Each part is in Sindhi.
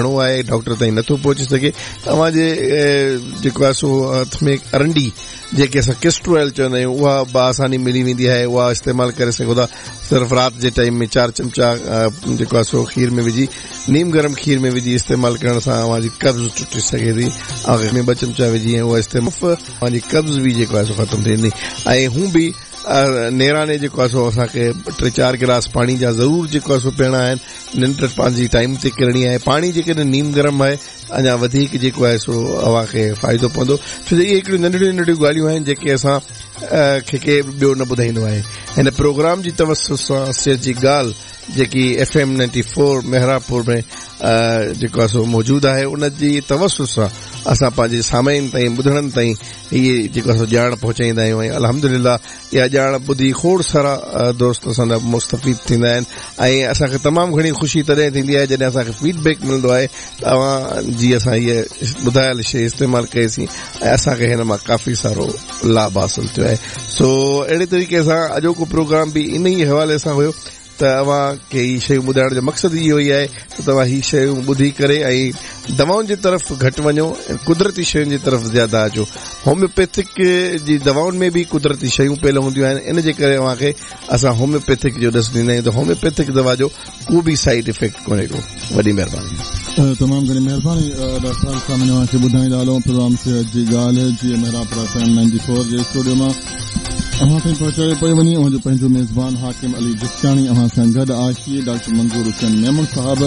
گهڻو آهي ڊاڪٽر تائين نٿو پهچي سگهي ته اوهان جي جيڪو آهي سو هٿ ۾ ارنڊي جيڪي اسان ڪيسٽر آئل چوندا آهيون اها بآساني ملي ويندي آهي اها استعمال ڪري سگهو ٿا صرف رات جي ٽائيم ۾ چار چمچا جيڪو آهي سو کير ۾ وجهي نيم گرم کير ۾ وجهي استعمال ڪرڻ سان اوهان جي قبض ٽٽي سگهي ٿي اوهان ۾ ٻه چمچا وجهي ۽ اها استعمال اوهان جي قبض به جيڪو آهي سو ختم ٿي ويندي ۽ هون به نيراني جيڪو آهي سو اسان کي ٽي چار گلاس پاڻي جا ضرور جيڪو آهي سو پيئڻا آهن ننڊ پنهنجي ٽائيم تي ڪرڻي آهي پاڻي جيڪڏهن نيم گرم آهي اڃا وڌيڪ جيڪو آهي سو اوهان کي فائدو پوندو ڇو جو اهي هڪڙيون ننڍڙيون ننڍڙيون ڳالهيون آهن جيڪي اسان کي ڪير ٻيو نه ٻڌائيندو آهي هن پروگرام جي توسط سان صحت جي ڳالهه جيڪي ايف ايم 94 محرابپور ۾ جيڪو آهي سو موجود آهي ان جي توسط سان اسان پنهنجي سامعين تائين ٻڌڻن تائين هي جيڪو اسان ڄاڻ پهچائيندا آهيون ۽ الحمدلله اها ڄاڻ ٻڌي کوڙ سارا دوست اسان جا مستفيد ٿيندا آهن ۽ اسان کي تمام گهڻي خوشي تڏهن ٿيندي آهي جڏهن اسان کي فيڊ بيڪ ملندو آهي ته اوهان جي اسان هيء ٻڌايل شيء استعمال ڪئي سين ۽ اسان کي هن مان ڪافي سارو لاڀ حاصل ٿيو آهي سو اهڙي طريقي سان اڄوڪو پروگرام به انهي حوالي سان هيو ته اوهان کي هي شيون ٻڌائڻ جو مقصد اهو ئي آهي ته توهان هي شيون ٻڌي ڪري ۽ دوائن جي طرف گهٽ وڃو ۽ قدرتي شين جي طرف زياده اچو. هوميوپيٿڪ جي دوائن ۾ به قدرتي شيون پيل هونديون آهن ان جي ڪري اوهان کي اسان هوميوپيٿڪ جو ڏس ڏيندا آهيون ته هوميوپيٿڪ دوا جو ڪو به سائيڊ افيڪٽ ڪونهي ڪو. وڏي مهرباني. تمام گهڻي مهرباني ڊاڪٽر صاحب سامعين اوهان کي ٻڌائيندا هلون پروگرام صحت جي ڳالهه جي Mehrabpur F M ninety four جي اسٽوڊيو مان اوهان تائين پهچايو پيو وڃي اوهان جو پنهنجو ميزبان حاڪم علي جسڪاڻي اوهان سان گڏ آهي ڊاڪٽر منظور حسين ميمڻ صاحب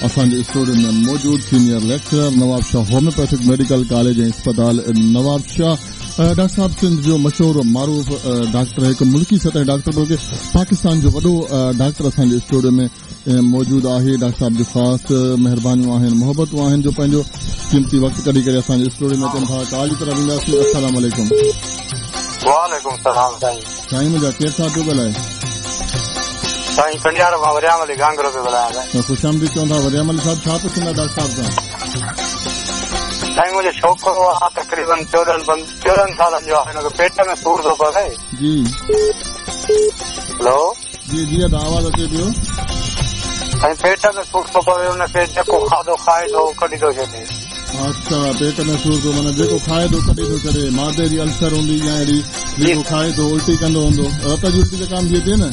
اسان جي اسٽوڊيو ۾ موجود senior lecturer Nawabshah homeopathic medical college ۽ اسپتال نوابشاهه ڊاڪٽر صاحب سنڌ جو مشهور و معروف ڊاڪٽر هڪ ملڪي سطح ڊاڪٽر بلڪه پاڪستان جو وڏو ڊاڪٽر اسان جي اسٽوڊيو ۾ موجود آهي ڊاڪٽر صاحب جون خاص مهربانيون آهن محبتون آهن جو پنهنجو قيمتي وقت ڪڍي ڪري اسان جي اسٽوڊيو ۾ اچن ٿا ڪال جي طرف وينداسين السلام عليڪم. وعليڪم السلام سائين. سائين منهنجا ڪير صاحب پيو ڳالهائي. سائين ڪنڊيارو مان وريام علي گهانگهرو پيو ڳالهايان سائين. خوش آمديد چون ٿا وريام علي صاحب ڇا پڇندا ڊاڪٽر صاحب کان. سائين منهنجو ڇوڪرو آ تقريبن 14 14 سالن جو آ هن کي پيٽ ۾ سور ٿو پوي. جي. هلو. جي جي ادا آواز اچي پيو. سائين پيٽ ۾ سور ٿو پوي ان کي جيڪو کاڌو کائي ٿو ڪڍي ٿو ڇڏي. اڇا پيٽ ۾ سور ٿو معنيٰ جيڪو کائي ٿو ڪڍي ٿو ڇڏي معدي جي السر هوندي يا اهڙي جيڪو کائي ٿو الٽي ڪندو هوندو رت جي الٽي ته ڪانه ٿي اچي نه.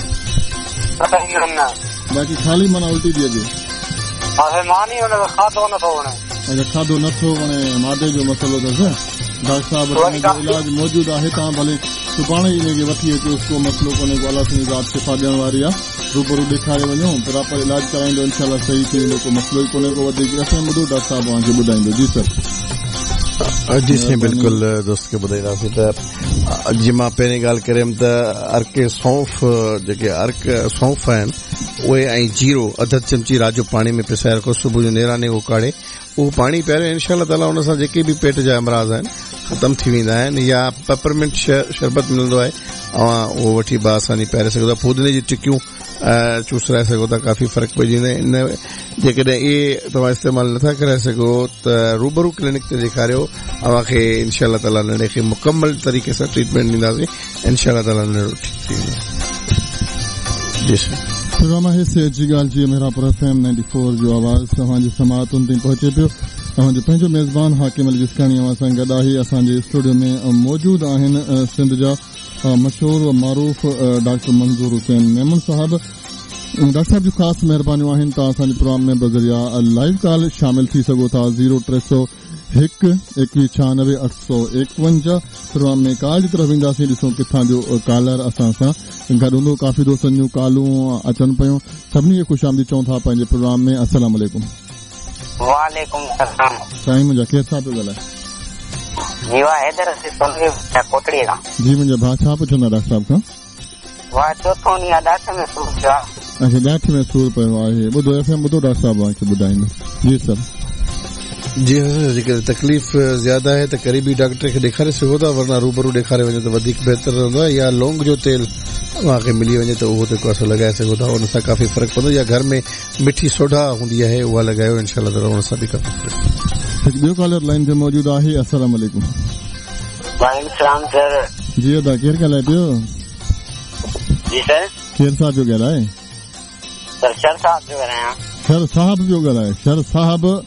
نه نه. باقي خالي معنيٰ الٽي ٿي اچي. ها سائين ماني ان کي کاڌو نه ٿو وڻي. اڇا کاڌو نه ٿو وڻي معدي جو مسئلو اٿس ڊاڪٽر صاحب وٽ ان جو علاج موجود آهي توهان ڀلي سڀاڻي ئي انهي کي وٺي اچوس ڪو مسئلو ڪونهي ڪو الله سائين ذات شفا ڏيڻ واري آ روبرو ڏيکاري وڃو پراپر علاج ڪرائيندو انشاء الله صحيح ٿي ويندو ڪو مسئلو ئي ڪونهي ڪو وڌيڪ ايف ايم ٻڌو ڊاڪٽر صاحب اوهان کي ٻڌائيندو جي سر. جي سائين بلڪل دوست کي ٻڌائينداسين ته جيئن مان پهرين ڳالهه ڪريم ته عرق سونف جيڪي عرق سونف آهن اهي ۽ جيرو اڌ اڌ چمچي رات جو پاڻي ۾ پسائي رکو صبح جو نيراني اهو ڪاڙهي اهو پاڻي پياريو انشاء الله تعالي ان سان جيڪي به پيٽ جا امراض آهن ختم ٿي ويندا آهن يا پپرمنٽ شربت ملندو آهي اوهان اهو وٺي باآساني پياري سگهو ٿا ڦودني جي ٽڪيون چوسرائي سگهو ٿا ڪافي فرق پئجي ويندو ان جيڪڏهن اهي توهان استعمال نٿا ڪرائي سگهو ته روبرو ڪلينڪ تي ڏيکاريو اوهان کي انشاء الله تعالي ننڍي کي مڪمل طريقي سان ٽريٽمينٽ ڏينداسين انشاء الله تعالي ننڍڙو ٺيڪ ٿي ويندو جي سر. پروگرام آهي صحت جي ڳالهه جي محرابپور ايف ايم 94 جو آواز توهان جي سماعتن تائين پهچي پيو اوهان جو پنهنجو ميزبان حاڪم علي جسڪاڻي اوهان سان گڏ آهي اسان جي اسٽوڊيو ۾ موجود آهن سنڌ جا مشهور و معروف ڊاڪٽر منظور حسين ميمڻ صاحب ڊاڪٽر صاحب جون خاص مهربانيون آهن توهان اسان جي پروگرام ۾ بذريعه لائيو ڪال شامل ٿي سگهو ٿا زيرو 301 2196 851 پروگرام ۾ ڪال جي طرف وينداسين ڏسون ڪٿان جو ڪالر اسان سان گڏ هوندو ڪافي دوستن جون ڪالون اچن پيون سڀني کي خوش آمديد چئون ٿا پنهنجي پروگرام ۾ السلام عليڪم. وعليڪم السلام. سائين منهنجا ڪير صاحب پيو ڳالهائي. جي ڀاء حيدر علي سولنگي ڪوٽڙي کان. جي منهنجا ڀاء ڇا پڇندا ڊاڪٽر صاحب کان. ڀاء چوٿون ڏينهن آ ڏاٺ ۾ سور پيو آ. اڇا ڏاٺ ۾ سور پيو آهي ٻڌو ايف ايم ٻڌو ڊاڪٽر صاحب اوهان کي ٻڌائيندو جي سر. جي حضرت جيڪڏهن تڪليف زياده آهي ته قريبي ڊاڪٽر کي ڏيکاري سگهو ٿا ورنه روبرو ڏيکاري وڃو ته وڌيڪ بهتر رهندو آهي يا لونگ جو تيل اوهان کي ملي وڃي ته اهو جيڪو آهي سو لڳائي سگهو ٿا ان سان ڪافي فرق پوندو يا گهر ۾ مٺي سوڍا هوندي آهي اها لڳايو انشاء الله تعالي ان سان به ڪافي فرق هڪ ٻيو ڪالر لائين تي موجود آهي السلام عليڪم. وعليڪم السلام سر. جي ادا ڪير ڳالهائي پيو. جي سر. ڪير صاحب پيو ڳالهائي. سر شر صاحب پيو ڳالهايان. شر صاحب پيو ڳالهائي شر صاحب.